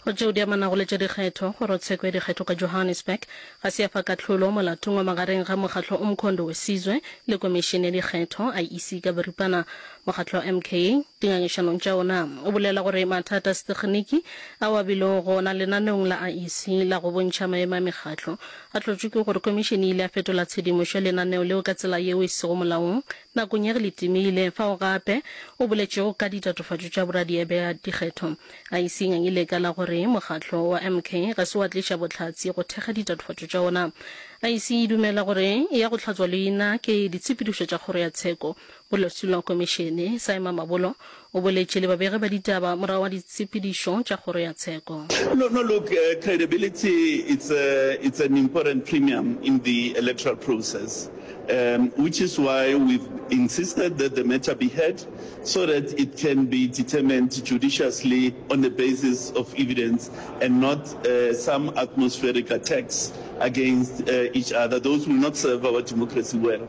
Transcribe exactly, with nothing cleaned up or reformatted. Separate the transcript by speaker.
Speaker 1: Go tšeo di amanago le tša dikgetho, Kgorotsheko ya Dikgetho ka Johannesburg ga se ya fa kahlolo molatong wa magareng ga mokgatlo Umkhonto weSizwe le Komišene ya Dikgetho, I E C ka boripana. Mokgatlo wa M K dingangišanong tša ona o bolela gore mathata a setekginiki ao a bilego gona lenaneong la I E C la go bontšha maemo a mekgatlo a hlotšwe ke gore komišene e ile ya fetola tshedimošo ya lenaneo leo ka tsela yeo e sego molaong nakong ya ge le timile, fao gape o boletšego ka ditatofatšo tša boradia bja dikgetho. I E C e ngangile ka la gore mokgatlo wa M K ga se wa tliša bohlatse go thekga ditatofatšo tša ona. I E C e dumela gore e ya go hlatswa leina ke ditshepedišo tša kgoro ya tsheko. Molwetši wa komišene, Saima Mabolo, o boletše le babegi ba ditaba morago ga ditshepedišo tša kgoro ya tsheko.
Speaker 2: No, no, look, uh, credibility, it's, a, it's an important premium in the electoral process, um, which is why we've insisted that the matter be heard so that it can be determined judiciously on the basis of evidence and not uh, some atmospheric attacks against uh, each other. Those will not serve our democracy well.